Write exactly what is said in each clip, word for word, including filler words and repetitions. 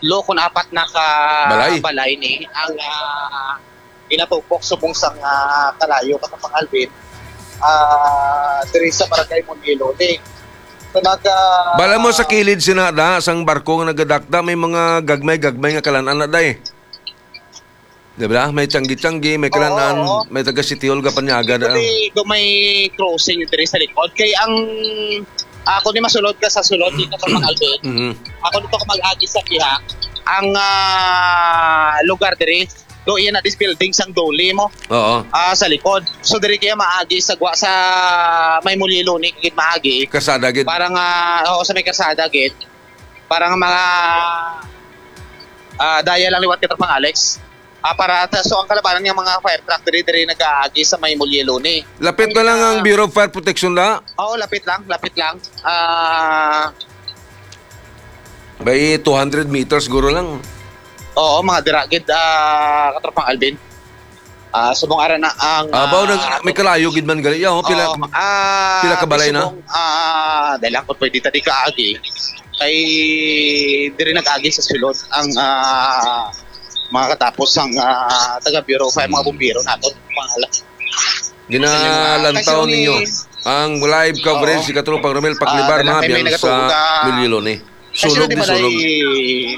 Lo, kung apat na ka Balay. balay ni ang, ah, ginatupok subong sang, ah, kalayo, Katropang Alvin, ah, diri sa barangay Monilo ni. So, nag, ah, Bala mo sa kilid sina da, sang barko nga nagadakda, may mga gagmay-gagmay nga kalan-an na, day. Di ba? May tiyanggi-tiyanggi, may Oo, kalan-an, oo. may taga City Hall nga panyaga na. Actually, do may crossing diri sa likod. Kay ang, ako ni masulod ka sa sulod dito sa Mangalde. Mhm. Ako dito ka mag-agi sa pihak. Ang, ah, lugar diri, do iya na this building sang Dole mo. Oo. Ah, sa likod. So diri kaya maagi sa gwa sa may Muliloni gid maagi. Kasada gid. Para nga, oo, sa may kasada gid. Para nga mga, ah, daya lang liwat, Katropang Alex. Ah, para ta-, so ang kalabanan nga mga fire truck diri, diri nag-aagi sa may Muliloni. Lapit na lang ang Bureau of Fire Protection na. Oo, lapit lang, lapit lang. Ah, May two hundred meters siguro lang. Oo, mga dira gid, ah, Katropang Alvin. Ah, subong ara na ang, Abaw, ah, nag-, may kalayo gid man gali. Yaw, pila, Oo, ah, pila ka balay na? Subong, ah, dahil ako pwede ta di kaagi. Kay diri nag-agi sa sulod ang, ah, mga katapos ang, ah, taga Bureau of Fire, mga Hmm. bumbero nato, mga ala-, Ginalantaw Kasi ninyo ni ang live coverage Oo. ni Katropang Romel Paklibar Ah, dala na kay may biyan nagatuo sa ka. Mililoni. Kasi Sunog ni di balay, sunog.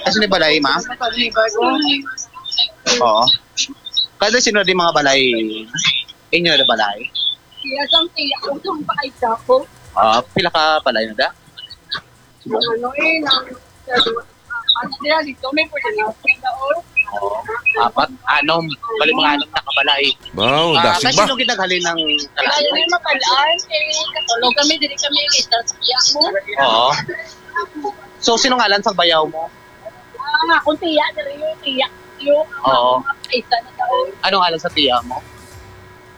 Kasi ni balay, ma? Oo. Kada sino di mga balay? Inyo na balay? Iya sang tiya ko, sang paisa ko. Ah, pila ka balay na da? Ang ano eh, nang, ano, dito, may pwede na, may daon. Oo. Apat, anom. Bali, mga anom na kabalay. Wow, Ah, dasig kasi ba? Sino ginaghalin ng Kaya kalayo? May mapalaan, eh, katulog kami, dili kami kita sa tiya mo. Oo. So, sino ngalan sa bayaw mo? Ah, akong tiya, diri yung tiya, yung Oo. Isa na daon. Anong ngalan sa tiya mo?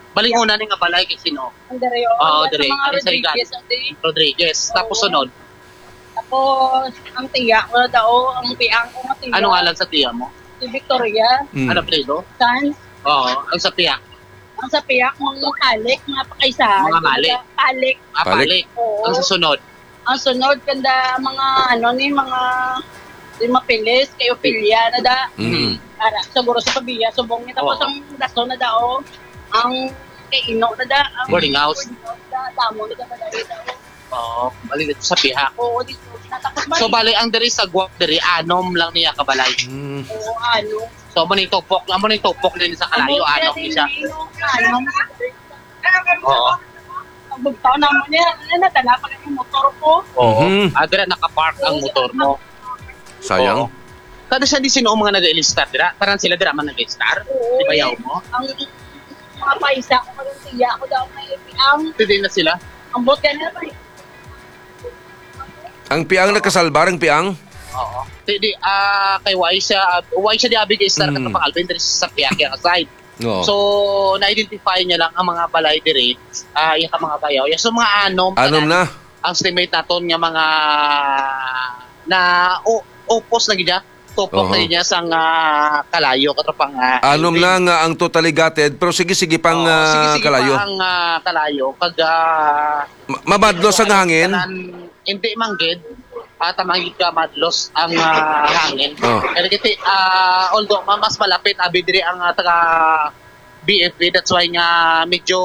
Bali, una ni nga balay kay sino? Ang diri, oh, Oo, yan sa diri. mga Ano sa Rodriguez, Igat? Ang diri. Rodriguez. Tapos Oo. sunod? Tapos, ang tiya ko na daw, ang piang ko nga tiya. Anong ngalan sa tiya mo? Si Victoria. Mm. Ano apelyido? Sanz. Oo, ang sa piya? Ang sa piya, mga Palik, mga pakaisahan. Mga Malik. Palik. Ah, Palik. Palik. Oo. Ang sa sunod? Ang sunod, kanda mga, ano ni, mga, di mapilis, kay Ophelia na da. Mm. Para, siguro sa Pavia, subong niya. Tapos Oo. ang daso na da, oh. Ang kay Ino na da. Ang Boarding house. Boarding house na, damo na da, madali da, oh. Oo, bali dito sa pihak. Oo, dito. Natapos ba? So, bali, ang diri sa Guam, diri, anom lang niya kabalay. Mm. Oo, ano. So, amo ning tupok, amo ning tupok din sa kalayo, Amo anom din ni siya. Yung, ano, Oo. Ang bugtaw na mo niya, ano, nadala pa yung motor ko. Oo. Mhm. Ah, dira nakapark ang Oo, motor mo. Sayang. Oo. Kada siya di sino ang mga nag-ilistar dira? Parang sila dira man nag-ilistar? Oo, Di bayaw eh. mo? Ang mga paisa ko, parang siya ako daw may ang Pwede na sila? Ang bot ka na pa eh. Ang piang nakasalbar, ang piang? Oo. Di, di, ah, kay why siya, why siya di abi kay Star Mm. Katropang Alvin, diri sa Piakia nga side. Oo. So, na-identify niya lang ang mga balay diri, ah, yung mga bayaw. Yeah, so, mga anom Anom tanan na. ang estimate naton nga mga na u-, upos na gid siya. Tupok Oho. na gid niya sang, ah, kalayo, Katropang, ah, Anom Alvin. na nga ang totally gutted, pero sige, sige pang, Oo, sige, ah, sige kalayo. pa ang, ah, kalayo. Kag, ah, Ma-, mamadlos ang hangin? Tanan, hindi man gid. Ah, tamang gid ka madlos ang, ah, hangin. Oh. Kaya kasi, ah, although ma-, mas malapit, abi diri ang, ah, taga B F P, that's why nga medyo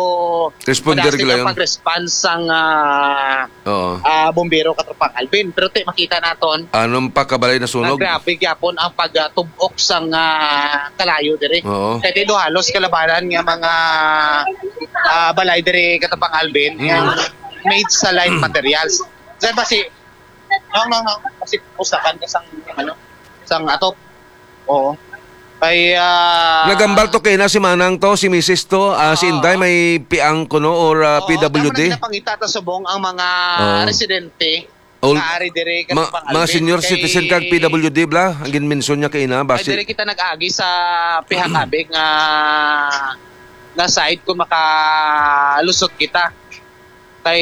Responder madasig ka lang. ang pag-response sang, ah, Oo. ah, bombero, Katropang Alvin. Pero ti, makita naton, Anong pa kabalay na sunog? nga grabe gyapon ang pagtubok sang, ah, kalayo diri. Oo. Kaya dito halos kalabanan nga mga, ah, balay diri, Katropang Alvin, Mm. nga made sa light materials. Diyan ba si No, no, no. Kasi pusakan ka sang, ano, sang atop. Oo. Kay, ah, Nagambal to kay na si Manang to, si Misis to, ah, si Oo. Inday may piang kuno or, ah, Oo, P W D? tama na, pinapangita ta subong ang mga Oo. residente Ol-, nga ari diri, ma-, Katropang mga Alvin, senior kay citizen kag P W D bla, ang ginmension niya kay na, Ay, basi diri kita nag-agi sa pihakabig nga, nga side kung makalusot kita. Kay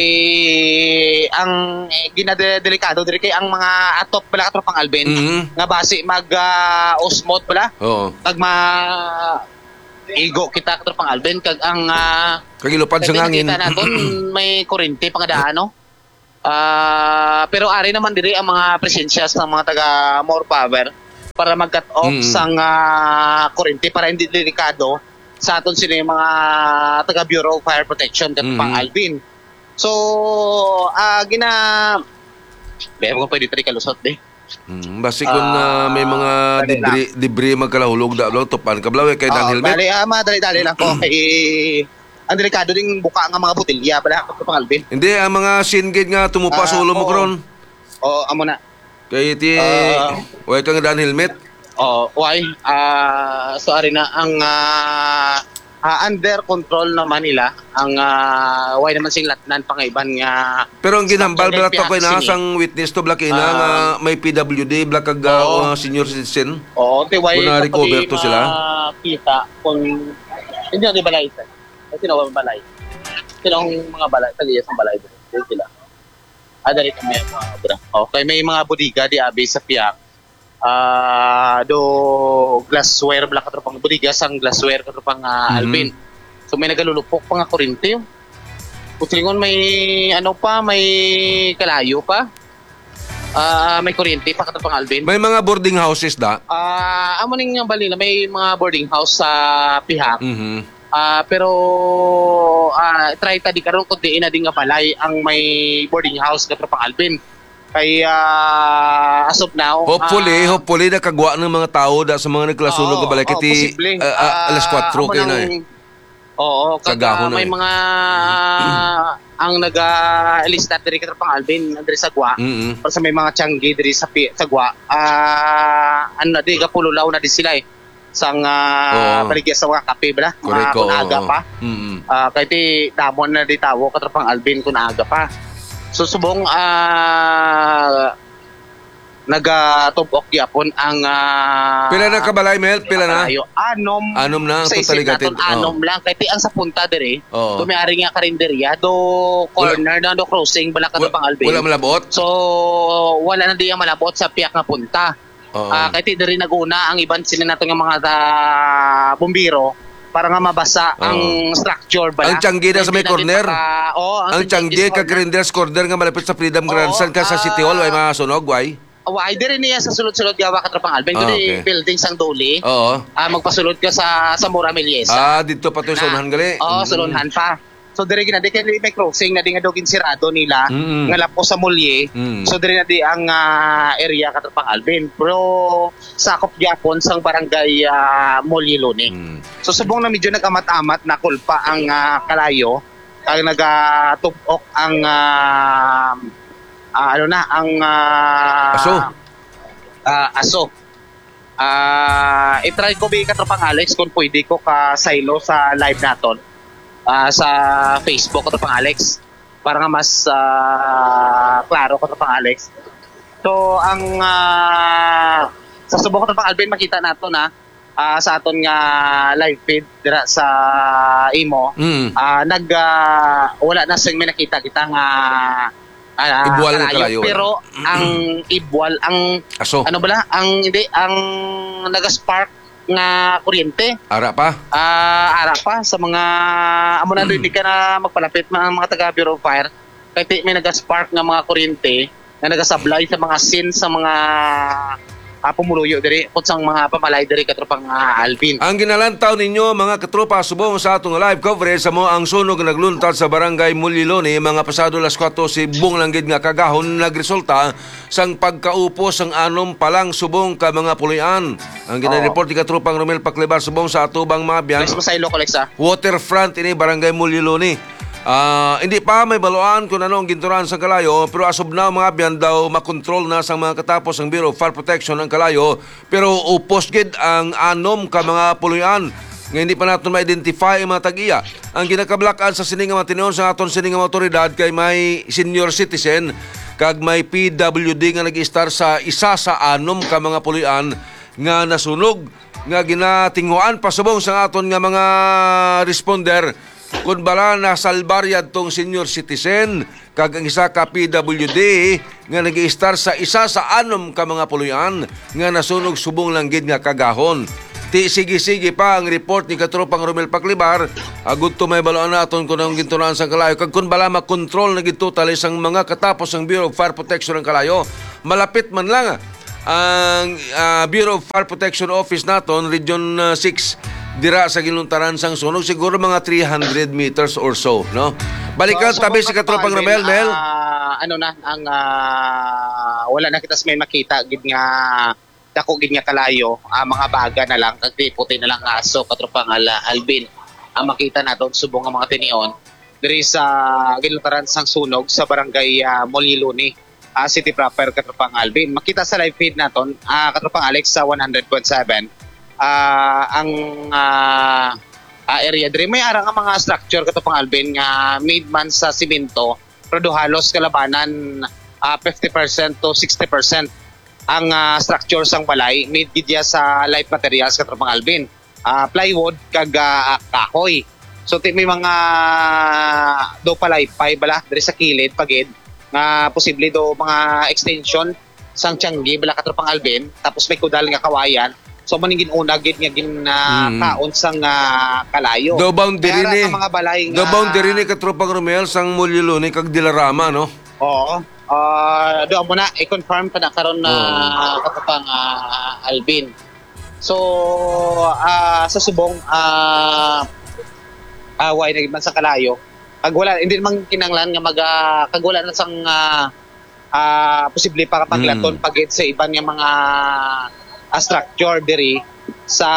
ang, eh, ginadelikado diri kay ang mga atop pala, Katropang Alvin, Mhm. nga basi mag, ah, usmot pala. Oo. Pag ma-, igo kita, Katropang Alvin, kag ang, ah, Kag ilupad sa kag hangin. nakita naton, may kurente pa nga daan, no? Ah, pero ari naman diri ang mga presensya sa mga taga More Power. para mag-cut off Mm. sang, ah, kurente para hindi delikado sa aton sini mga taga Bureau of Fire Protection, Katropang Mm. Alvin. So, ah, gina-, Be, ako pwede tali kalusot, be. Mm, basi kung, ah, may mga Ah, dali lang. debris, debris magkalahulog da, bro, tupan ka, bro, eh, kay Oo, Daniel Met. Dali, ah, madali-dali lang ko. Kay, ang delikado ding buka nga mga botelya, bala, Katropang Alvin. Hindi, ang mga singit nga tumupa sa Ah, ulo mo, oo. karon. Oo, amo na. Kay ti, Ah. way kang daan helmet? Oo, why? Ah, so, ari na, ang, ah, ah, under control naman nila ang, ah, way naman sing latnan pangaiban nga Pero ang ginhambal, structure bala, kay to, koy na, sini. sang witness to, bala, kay na Ah. nga may P W D, bala, kag, ah, Oo. mga senior citizen. Oo, ti way Kung na-recover kapag to sila? makita kung hindi na balay, sir. Kasi na balay. Sino ang mga balay? Tag-iya sa balay, sila. Ah, dali kami ang mga obra. Okay, may mga bodega di abi sa piyak. Ah, do glassware, bala, Katropang, bodega sang glassware, Katropang, ah, Mhm. Alvin. So, may nagalulupok pa nga kurente. Kung silingon, may ano pa, may kalayo pa. Ah, may kurente pa, Katropang Alvin. May mga boarding houses da? Ah, amo ning nga balay na may mga boarding house sa pihak. Mhm. Ah, pero, ah, try ta di karon kung diin na di nga balay ang may boarding house, Katropang Alvin. Kay, ah, as of now, Hopefully, ah, hopefully nakagwa ng mga tao da sa mga nagkalasunog Oo, nga balay. oo, Kiti, posible. ah, ah, alas Ah, kwatro amo kayo na eh. nang, oo, kag, Kagahon ah, na may eh. mga ang naga-lista diri, Katropang Alvin, diri sa gwa. Mm-mm. Para sa may mga tiyanggi diri sa pi-, sa gwa. Ah, ano na di, gapululaw na di sila eh. Sang, ah, Oo. baligya sa mga kape, bala? Correct, Mga kun oo, aga oo. pa. Mm-mm. Ah, kay ti damon na di tawo, Katropang Alvin, kun aga pa. So, subong, ah, nagatubok gyapon ang, ah, Pila na kabalay, Mel? Pila na? Kalayo. Anom. Anom na ang Sa isip totalidad. naton, Oo. anom lang. Kay ti ang sa punta diri, Oo. do may ari nga karinderya, do Wala. corner na, do crossing, bala, Wa-, Katropang Alvin. wala malabot? So, wala na di ang malabot sa piyak nga punta. Oo. Ah, kay ti diri naguna ang iban sila nato nga mga, ah, bumbiro para nga mabasa Oo. ang structure, bala. Ang tiyanggi na sa Hindi may na din corner? maka-, oo, ang Ang tiyanggi tiyanggi sa kag corner. Grinders corner nga malapit sa Freedom Oo, Grandstand ka sa City Hall, ah, way masunog, way? Wa, ay, diri niya sa sulod-sulod gawa, Katropang Alvin. Ah, Diri okay. building sang Duli. Oo. Ah, magpasulod ka sa, sa Mora Meliesa. Ah, dito pa to sa Na, unahan gali? oo, sa Mm. unahan pa. So, diri gina, di kay may crossing na di nga daw ginsirado nila, Mm. nga lapos sa Mulye. Mm. So, diri na di ang, ah, area, Katropang Alvin. Pero sakop gyapon sang barangay, ah, Mulye Loni. Mm. So, subong na medyo nag-amat-amat na kulpa ang, ah, kalayo, ang nagatubok ang, ah, ah, ano na, ang, ah, Aso. ah, aso. Ah, i-try ko, bi, Katropang Alex, kung pwede ko ka-silo sa live naton, ah, sa Facebook, Katropang Alex, para nga mas, ah, klaro, Katropang Alex. So, ang, ah, sa subong, Katropang Alvin, makita nato na, ah, sa aton nga live feed dira sa imo, Mm. ah, nag, ah, wala na sing may nakita kita nga, ah, Ibuwal nga kalayo, kalayo, wala. Pero ang ibuwal, ang Aso. ano bala? Ang, hindi, ang naga-spark nga kuryente. Ara pa? Ah, ara pa sa mga, amo na, hindi ka na magpalapit, mga, mga taga Bureau of Fire. Kay ti-, may naga-spark nga mga kuryente nga nagasablay sa mga sin sa mga, ah, pumuluyo diri, kung sang mga pamalay diri, Katropang, ah, Alvin. Ang ginalantaw ninyo, mga katropa, subong sa atong live coverage, amo ang sunog nga nagluntad sa barangay Muliloni, mga pasado alas kwatro, subong lang gid nga kagahon nagresulta sang pagkaupos sang anom pa lang subong ka mga puloy-an. Ang Oo. ginareport ni Katropang Romel Paclibar, subong sa atubang mga abyan. Mas masaylo ko, Alex, ah. Waterfront ini, barangay Muliloni. Ah, hindi pa may baluan kung ano ang ginturan sa kalayo, pero as of now, mga abyan, daw makontrol na sang mga katapos ang Bureau of Fire Protection ang kalayo, pero upos gid ang anom ka mga puloy-an nga hindi pa naton ma-identify ang mga tag-iya. Ang ginakabalakan sa sini nga mga tinion sa aton sini nga mga awtoridad kay may senior citizen kag may P W D nga nag-istar sa isa sa anom ka mga puloy-an nga nasunog, nga ginatinguhan pa subong sa aton nga mga responder, kun bala nasalbar yadtong senior citizen kag ang isa ka P W D nga nag-iistar sa isa sa anom ka mga puloy-an nga nasunog subong lang gid nga kagahon. Ti sige-sige pa ang report ni Katropang Romel Paclibar, agud to may baluan naton kung anong ginturan sang kalayo kag kun bala makontrol na gid totally sang mga katapos sang Bureau of Fire Protection ang kalayo. Malapit man lang ang, ah, Bureau of Fire Protection Office naton, Region, ah, six, dira sa ginluntaran sang sunog, siguro mga three hundred meters or so, no? Balikan, so, tabi si Katropang Romel, Mel. Ah, ano na, ang, ah, wala na kita sa may makita, gid nga dako gid nga kalayo, ah, mga baga na lang, kag puti na lang nga aso, Katropang Al-, Alvin, ang makita naton subong nga mga tinion diri sa ginluntaran sang sunog sa barangay, ah, Moliloni, ah, City Proper, Katropang Alvin. Makita sa live feed naton, ah, Katropang Alex, sa one hundred point seven, ah, ang, ah, ah, area diri. May ara nga mga structure, Katropang Alvin, nga made man sa simento, pero do halos kalabanan, ah, fifty percent to sixty percent ang, ah, structure sang balay, made gid iya sa light materials, Katropang Alvin. Ah, plywood kag, ah, kahoy. So, ti-, may mga do palaypay bala diri sa kilid pa gid nga posible do mga extension sang tiyanggi bala, Katropang Alvin, tapos may kudal nga kawayan. So, man ang gin-una gid nga gin, ah, Mm. kaon sang, ah, kalayo. Do boundary Kaya ra ni, ang mga balay do nga boundary ni, Katropang Romel, sang Moliloni kag Dilarama, no? Oo. Ah, do mo na, i-confirm pa na karon na Oo. Katropang, ah, Alvin. So, ah, sa subong, ah, ah, wala na gid man sa kalayo. Kag wala, hindi naman kinahanglan nga mag, ah, kag wala na sang, ah, ah, posible pa maglaton Mm. pa gid sa iban nga mga, ah, structure diri sa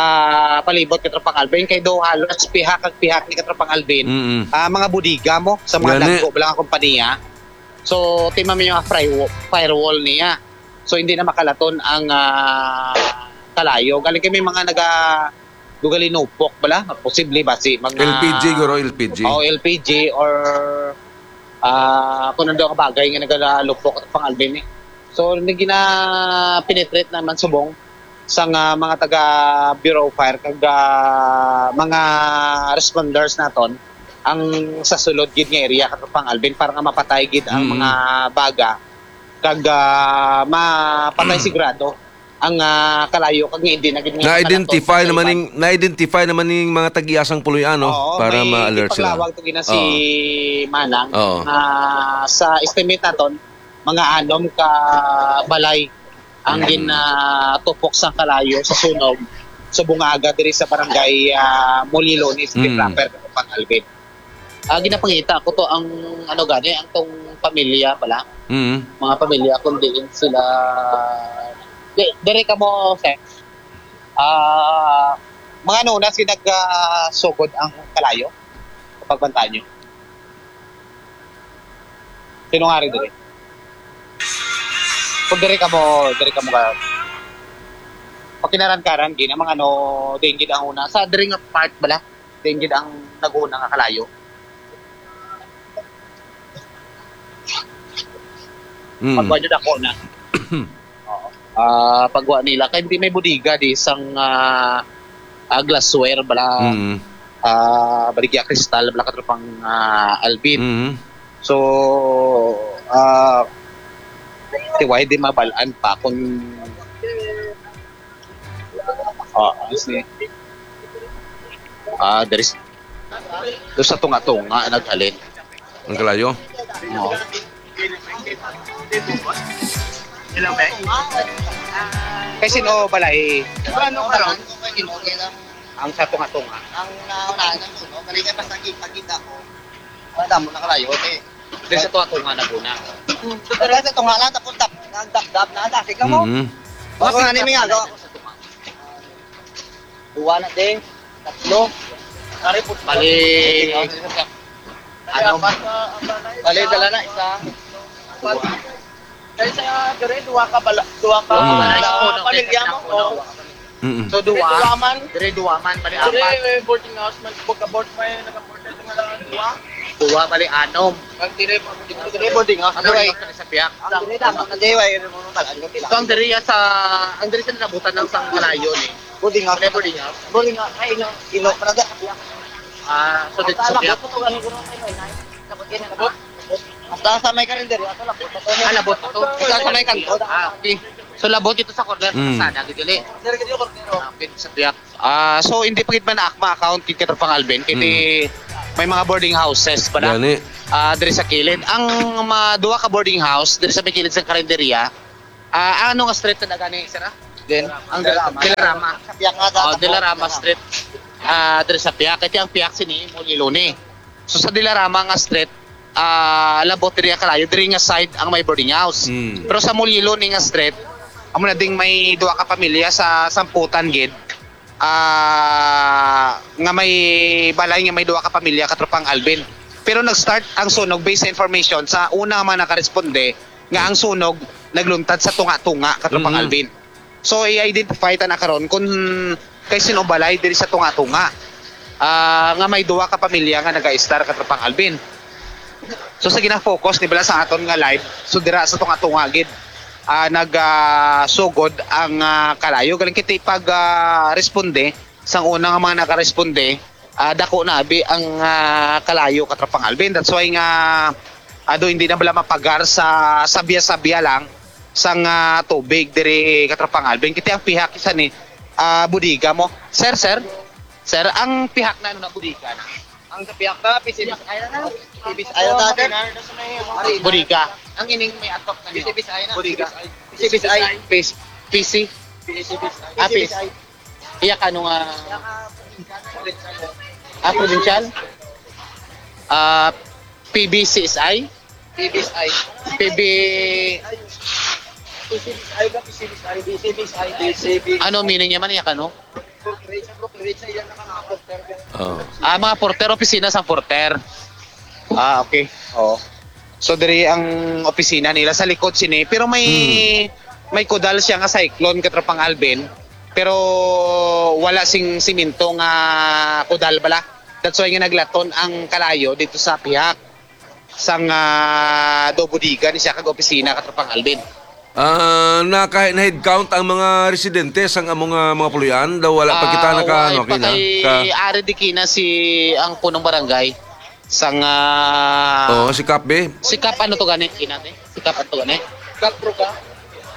palibot, Katropang Alvin, kay do halos pihak kag pihak ni, Katropang Alvin, Mm. ah, mga bodega mo sa mga Gani. dagko bala nga kompanya. So, ti man may mga fry-, firewall niya. So, hindi na makalaton ang, ah, kalayo. Galing kay may mga naga-, dugalinupok bala. Posible ba si mga L P G, guro, L P G. Oh, L P G or, ah, kung ano nga bagay nga nagalupok, Katropang Alvin, eh. So, nag-, gina-penetrate naman subong sang, ah, mga taga Bureau of Fire kag, ah, mga responders naton ang sa sulod gid nga area, Katropang Alvin, para nga mapatay gid ang Mm. mga baga kag, ah, mapatay sigurado ang, ah, kalayo kag nga hindi na gid nga Na-identify makalaton sa naman iban. ning, na-identify naman ning mga tag-iya sang puloy-an, no? Oo, para may ma-alert sila. Ipaglawag to gina si Oo. Manang Oo. nga sa estimate naton, mga anom ka balay ang Mm. gin-, ah, tupok sang kalayo sa sunog sa bungaga diri sa barangay, ah, Moliloni, City Mm. Proper, Katropang Alvin. Ah, ginapangita ko to ang, ano gani, ang tong pamilya pala. Mm. Mga pamilya kung diin sila. Di, diri ka mo, sir. Ah, mga nunas ginag-, ah, sugod ang kalayo kapag bantayan nyo. Sino nga rin diri? Kung diri ka mo, diri ka mo ka, pakinaran-karan, gina, mga ano, dingin ang una. Sa diri nga part bala, dingin ang nag-una nga kalayo. Mm. Pagwa nyo dako na. Oo. Ah, pagwa nila. Kay di may bodega di sang, ah, ah, glassware bala. Mm. Ah, baligya kristal bala, Katropang, ah, Alvin. Mm. So, ah, tiway di mabalaan pa kung, ah, ano si, ah, there is, doon sa tunga-tunga naghalin. Ang kalayo? Oo. Kay sino balay? Ano karon? Ang sa tunga-tunga. Ang naunahan ng sunog, kali kay basta kita-kita ko. Wala mo na kalayo, okay. Di sa tunga-tunga na guna. Hmm, so, pero sa tunga lang, tapos dab-, nagdabdab na, dasig lang mo. Mm-hmm. Tapos nga, ni, may nga, Sa tunga. Duwa na, ding. Tatlo. Bali, ano? Bali, dala na, isa. Kay sa dire, duwa ka bala-, duwa ka, Mm. ah, pamilya mo, o. Mm-mm. So, duwa. Dire, duwa man. Dire, duwa man, bali, Dire, apat. Eh, boarding house man, pagka-board, may naka-board na mga duwa. Duwa, bali, anom. Ang dire, dire, boarding house, Ano dire. Yung sa piyak? Ang dire, damo na dire, way, ano mo, balaan ko, pila. So, ang dire, ya, sa, ang dire, sa nabutan ng sang kalayo, ni. Boarding house. Dire, boarding house. Boarding house, ay, ino, ino, para da. Ah, so, dito sa piyak. Labot, ano, guro, ay, may, may. Labot, yan, labot. Basta sa may karinderya, sa labot. Ah, labot to. Basta sa may kanto. Ah, okay. So, labot ito sa corner, Mm. Sana, gidili. Ah, okay, sa piyak. Ah, so, hindi pa gid man akma account kay Katropang Alvin, kay Mm. may mga boarding houses pa na. Gani. Ah, diri sa kilid. Ang mga duha ka boarding house, diri sa may kilid sa karinderya, Ah, ano nga street na gani, sir, ah? Then, ang Dilarama. Dilarama. Sa piyak nga, Oh, sa Dilarama Street. Ah, diri sa piyak. Kaya ang piyak sini, Muliloni. So, sa Dilarama nga street, ah, labot diri ang kalayo, diri nga side ang may boarding house. Mm. Pero sa Muliloni nga street, amo na ding may duha ka pamilya sa samputan gid. Ah, nga may balay nga may duha ka pamilya, Katropang Alvin. Pero nag-start ang sunog based sa information sa una nga mga nakaresponde nga ang sunog nagluntad sa tunga-tunga, Katropang Mm. Alvin. So, i-identify ta na karon kung kay sino balay diri sa tunga-tunga, ah, nga may duha ka pamilya nga nag-a-estar, Katropang Alvin. So, sa gina-focus ni bala sa aton nga live, so dira sa tunga-tunga gid, ah, nag, ah, sugod ang, ah, kalayo. Galing kita pag, ah, responde sang una nga mga nakaresponde, ah, dako na abi ang, ah, kalayo, Katropang Alvin. That's why nga, ah, do hindi na bala mapagar sa sabya-sabya lang sang, ah, tubig diri, Katropang Alvin. Kita ang pihak isa ni, ah, bodega mo. Sir, sir. Sir, ang pihak na ano na bodega na? Ang sa piyak na, P C B S I na na. P C B S I na, sir. Bodega. Ang ining may atop na niyo. P C B S I na. Bodega. P C B S I. P C. P C. P C B S I. Ah, P C. P C B S I. Iya ka ano nga, ah, provincial? Ah, P B C S I? P B S I. P B. P C B S I ba? P C B S I. P C B S I. P C B. Ano meaning niya man, iya ka, no? Oh. Ah, mga porter, opisina sang porter. Ah, okay. Oo. So, diri ang opisina nila sa likod sini. Pero may, Hmm. may kudal siya nga cyclone, Katropang Alvin. Pero wala sing simento nga kudal bala. That's why nga naglaton ang kalayo dito sa pihak sang, ah, do bodega ni siya kag opisina, Katropang Alvin. Ah, naka-, na-head count ang mga residente sang amo nga mga puloy-an? Daw wala pa kita Ah, naka-, wa ano, pa kina? kay Ka- ari di kina si ang punong barangay sang, ah, Oo, si Kap, be. Si Kap, ano to gani? Kina, te? Si Kap, ano to gani? Kap, bro, ka?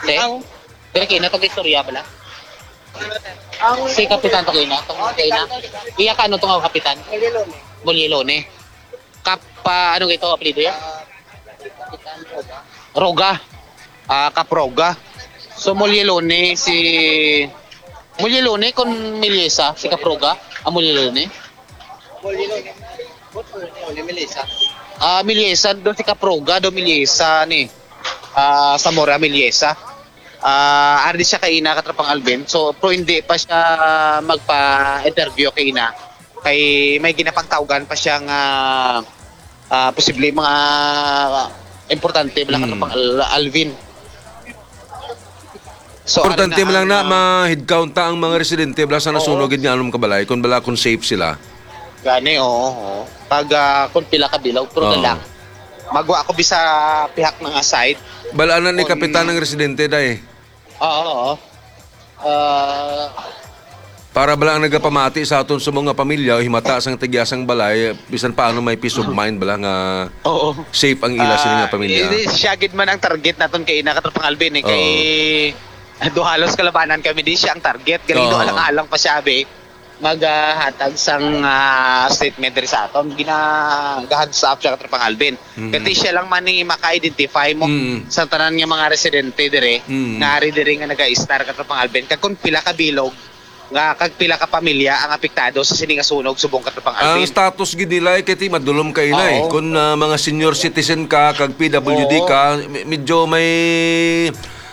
Te? Ang Dili kina to, istorya bala? Ang Si Kapitan to kina, to kina. Iya ka, ano to nga kapitan? Mulilone. Mulilone. Kap, ah, ano ito, apelyido yan? Roga. Ah, Caproga. So, Mulyelone si, Mulyelone kon Milyesa, si Caproga, ang Mulyelone? Mulyelone. Mulyelone, Milyesa. Ah, Milyesa, do si Caproga, do Milyesa ni. Ah, Zamora Milyesa. Ah, ari siya kaina, Katropang Alvin. So, pero hindi pa siya magpa-interview kaina. Kay may ginapangtawgan pa siya nga, ah, posible mga importante bala, Mm. Katropang Al-, Alvin. So, Importante ari na man lang ang, na ah, ma-head count ta ang mga residente bala sa Oo. nasunog gid nga anong kabalay, kung bala kung safe sila. Gani, oo, oo. Pag, ah, kung pila ka bilog, pero Oo. lang. Magwa ako bisa pihak nga side. Bala na ni Kung kapitan ng residente, day. Oo, oo. Ah, Para bala ang nagapamati sa aton sa mga pamilya o himata sang tigyasang balay, bisan paano may peace of mind bala nga Oo. safe ang ila sila nga Ah, pamilya. Hindi, siya gid man ang target naton kay ina, Katropang Alvin, eh, kay Oo. do halos kalabanan kami, di siya ang target. Galing do Oo. alang-alang pa siya, be. Maghatag sang, ah, statement diri sa aton. Gina-, ga-heads up siya, Katropang Alvin. Mhm. Kati siya lang man ni maka-identify mo Mm. sa tanan nga mga residente dire, Mm. nga ari dire nga naga-istar, Katropang Alvin. Kag kung pila ka bilog, nga kag pila ka pamilya ang apektado sa sini nga sunog subong, Katropang Ang Alvin. status gid nila ay kay ti madulom kay inay. Oo. Kung, ah, mga senior citizen ka, kag P W D Oo. ka, me-, medyo may,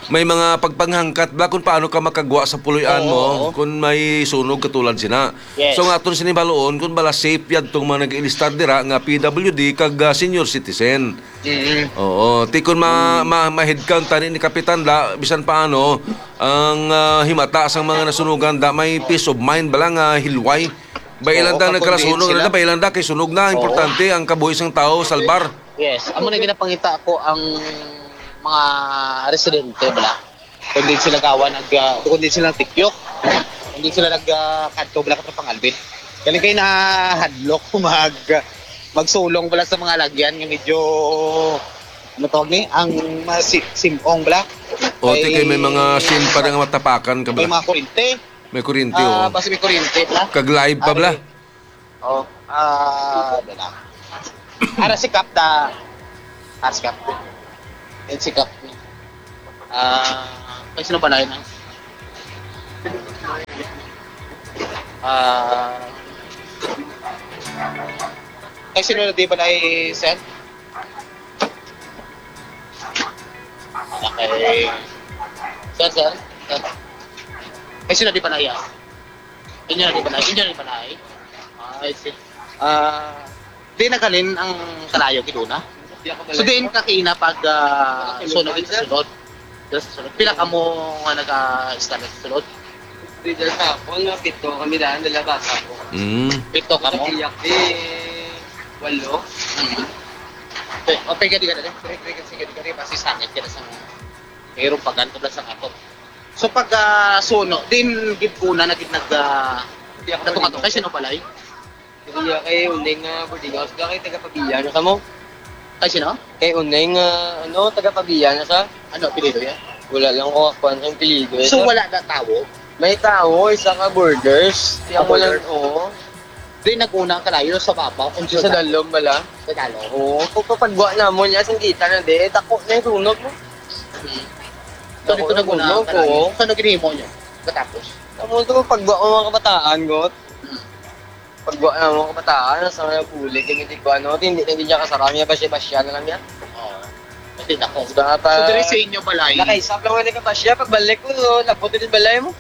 may mga pagpanghangkat ba kung paano ka makagwa sa puloy-an Oo, mo oo. kung may sunog katulad sina. Yes. So, nga aton sini baluon kung bala safe yadtong mga nag-ilistar dira nga P W D kag, ah, senior citizen. Mm. Oo, ti kun ma-, Mm. ma-, ma-head count tani ni Kapitan da, bisan paano, ang, ah, himata sang mga nasunugan da, may peace of mind bala nga hilway. Bailan Oo, da kag nagkalasunog, convince sila. Da, bailan da kay sunog na, Oo. importante ang kabuhi sang tao, salbar. Yes, amo na ginapangita ko ang mga residente bala. Kung di sila gawa nag, ah, kung di sila tikyok, kung di sila nag, ah, kadto bala, Katropang Alvin. Galing kay nahadlok mag, magsulong bala sa mga lagyan nga medyo, ano tawag ni? Ang mga si-, simong bala. O, ti kay may mga sim pa nga matapakan ka bala. May mga kurente. May kurente, Ah, o. basta may kurente bala. Kag live pa bala. Ay. Oh, ah, dala. Ara si Kap da. Ara si Kap. Yan si Kap. Ah, kay sino balay na? Ah, kay sino na di balay, sir? Okay. Sir, sir, sir. Kay sino di balay, ah? Inyo na di balay? Inyo na di balay? Ah, I see. Ah, di naghalin ang kalayo gid una? So, diin ka kaina pag, ah, sunod sa sulod? Sa sulod. Pila kamo nga nag-istorya sa sulod? Leader sa ako, nga pito kami daan, dala bata ko. Mm. Pito kamo? Iyak, eh, walo. Mm. Okay, okay, gadi, gadi. Sige, sige, sige, gadi, gadi. Basi sangit ka na sa mayroong pagan ko sa ako. So, pag, ah, suno, din gid una na gid nag, ah, Iyak, natunga to. Kay sino balay? Iya kay Uneng, ah, boarding house. Kay taga Pabia na sa mo? Kay sino? Kay Uneng, ah, ano, taga Pabia na sa? Ano, apelyido yan? Wala lang ko kuwan sa apelyido, eh. So, wala na tawo? May tawo, isa ka borders. Ah, Siya mo lang, borders. Oo. Di nag-una ang kalayo sa Babaw, kung Sa sa dalom bala? Sa dalom. Oo, kung papagwa na mo niya, singkita na di, eh, tako na yung sunog mo. Hmm. So, Ako dito nag-una ang nagulog, kalayo. Oo. So, ano ginhimo niyo? Katapos? Tamo to, pagwa ko mga kabataan, got. Hmm. Pagwa na mga kabataan, sa mga puli, kaya hindi ko ano, hindi na niya kasarang niya, basya-basya na lang niya. Oo. Kasi nako. Diba, pa So, diri sa inyo balay? Nakaisap lang wala ka basya, pagbalik ko, no, labot din balay mo.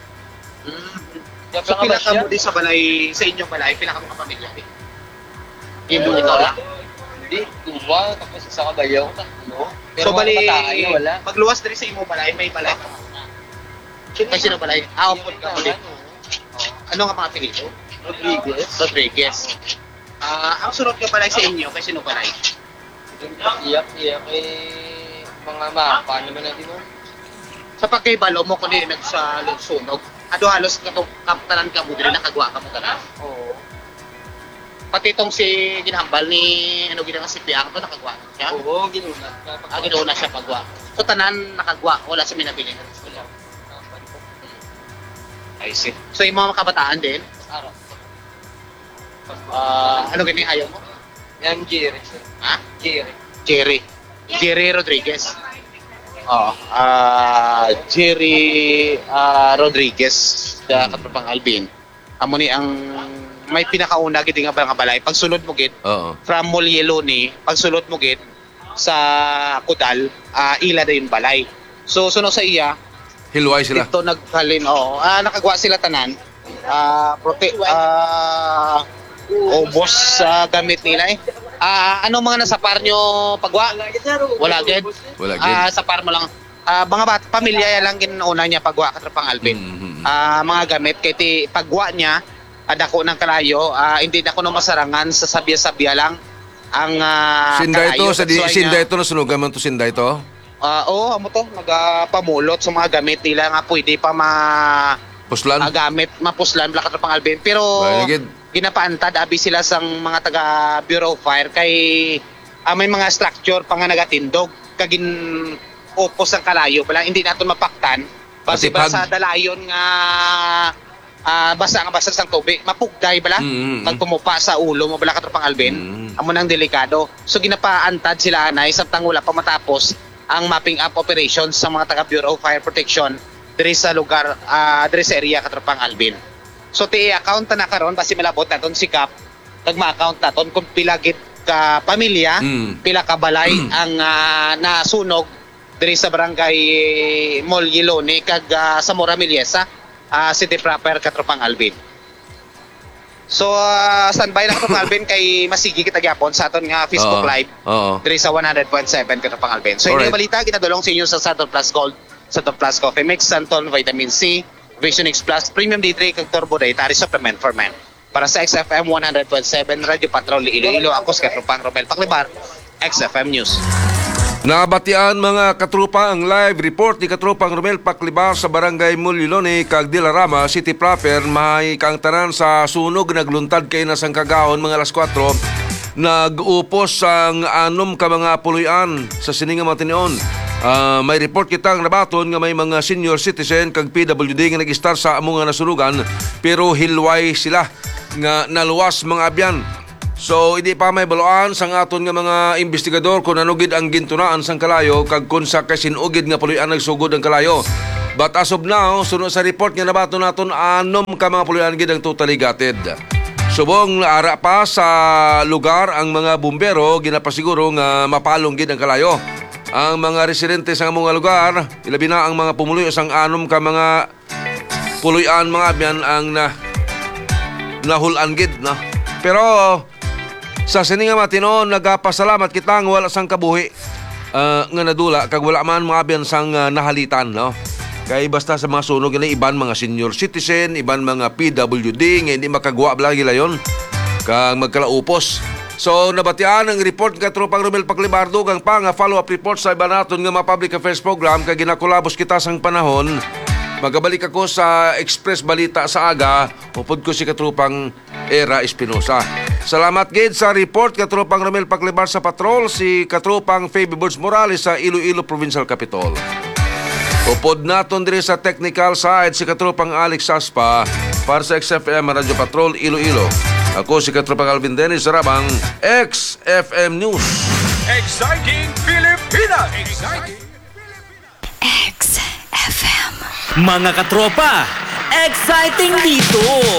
Mm. Kaya So, pila ka ka basya? mo di sa balay, sa inyong balay, pila ka mga pamilya di? Imo Pero, ikaw lang? Hindi, dua, tapos isa ka bayaw, tatlo. Pero So, mga bali, kabataan niya, wala. Pagluwas diri sa imong balay, may balay pa. Sino Kasi na balay? Ah, Yung upod ka mga ulit. ano, Ano nga mga apelyido? Rodriguez. Rodriguez. Ah, ang sunod nga balay sa inyo, kay sino balay? Iyak, iyak, eh, mga mapa naman natin, no? Sa pagkahibalo mo, kung di nagsalusunog, ado halos kato-, kap-, tanan ka mo diri, nakagwa ka mo tanan. Oo. Pati itong si ginhambal ni, ano, ginang si Piang to, nakagwa siya? Oo, ginuna. Ah, ginuna siya pagwa. So, tanan nakagwa, wala sa minabilin. Wala. I see. So, yung mga kabataan din? Araw. Ah, ano gani ayaw mo? Yan, Jerry, sir. Ha? Jerry. Jerry. Jerry Rodriguez. Oo. Ah, Jerry, ah, Rodriguez, sa Mm. Katropang Alvin. Amo ni ang may pinakauna gid nga mga balay. Pagsulod mo gid, Oo. from Mulyeloni, pagsulod mo gid sa Kudal, ah, ila na yung balay. So, suno sa iya, Hilway sila. Dito naghalin, oo. Ah, nakagwa sila tanan. Ah, prote-, ah, ubos sa gamit nila eh. Ah, anong mga nasapar nyo pagwa? Wala gid? Wala gid. Ah, sapar mo lang. Ah, mga bat-, pamilya lang ginauna niya pagwa, Katropang Alvin. Mm, mm, mm. Ah, mga gamit, kay ti pagwa niya, ah, dako ng kalayo, ah, hindi na kuno masarangan sa sabya-sabya lang ang, ah, Sinday to, kalayo. sa di, That's why Sinday nga to, nasunugan man to, Sinday to? Ah, oo, amo to, nagapamulot sa mga gamit nila nga pwede pa ma-, Puslan? ah, gamit, mapuslan, bala, Katropang Alvin. Pero Bayan gid. ginapaantad, abi sila sang mga taga Bureau of Fire kay, ah, may mga structure pa nga nagatindog, kag gin-, upos ang kalayo bala, hindi naton mapaktan. Basi ba Matipag. sa dalayon nga, ah, basa nga basa sang tubig, mapugday bala. Mm, mm, mm. Pag pumupa sa ulo mo bala, Katropang Alvin, Mm. amo nang delikado. So, ginapaantad sila anay samtang wala pa matapos ang mopping up operation sa mga taga Bureau of Fire Protection diri sa lugar, ah, diri sa area, Katropang Alvin. So, ti account na karon, basi malabot naton si Kap, kag ma-account naton kung pila gid ka pamilya, Mm. pila ka balay ang, ah, nasunog diri sa barangay Molyeloni kag, ah, Zamora Meliesa, ah, City Proper, Katropang Alvin. So, ah, standby lang, Katropang Alvin, kay masigi kita gyapon sa aton nga Facebook Oo. Live Oo. diri sa one hundred point seven, Katropang Alvin. So, Alright. Ining balita ginadulong sa inyo sa Santon Plus Gold, Santon Plus Coffee Mix, Santon Vitamin C, Vision X Plus, Premium D three, kag Turbo Dietary Supplement for Men. Para sa X F M one hundred point seven Radyo Patrol Iloilo, ako si Katropang Romel Paclibar, X F M News. Nabatian, mga katropa, ang live report ni Katropang Romel Paclibar sa Barangay Mulyeloni kag Dilarama City Proper. Mahay ka ang tanan sa sunog, nagluntad kay na sang kagahon, mga alas kuwatro. Nag-upos ang anom ka mga puloy-an sa sini nga mga tinion. Ah, may report kita ang nabaton nga may mga senior citizen kag P W D nga nag-istar sa amo nga nasunugan, pero hilway sila nga naluwas, mga abyan. So, hindi pa may baluan sang aton nga mga investigador kung ano gid ang gintunaan sang kalayo kag kung sa kasin-o gid nga puloy-an nagsugod ang kalayo. But as of now, suno sa report nga nabaton naton, anom ka mga puloy-an gid ang totally gutted. Subong naara pa sa lugar ang mga bumbero, ginapasiguro nga mapalong gid ang kalayo. Ang mga residente sa among lugar, ilabi na ang mga pumuluyo sang anom ka mga puloy-an, mga abyan, ang na, nahul-an gid, no? Pero sa sini nga mga tinuon, nagapasalamat kita nga wala sang kabuhi, ah, nga nadula, kag wala man mga abyan sang, ah, nahalitan, no? Kay basta sa mga sunog, gani iban mga senior citizen, iban mga P W D nga hindi makagwa bala gilayon kag magkalaupos. So, nabatian ang report nga Tropang Romel Paglimar, dugang pa nga follow-up report sa iban naton nga mga public affairs program, kay ginakulabos kita sang panahon. Magabalik ako sa Express Balita sa aga, upod ko si Katropang Era Espinosa. Salamat gid sa report, Katropang Romel Paglimar sa patrol, si Katropang Fabi Birds Morales sa Iloilo Provincial Capitol. Upod naton diri sa technical side si Katropang Alex Saspa para sa X F M Radyo Patrol Iloilo. Ako si Katropang Alvin Dennis Rabang, X F M News. Exciting Pilipinas! Exciting Pilipinas! X F M. Mga katropa, exciting dito!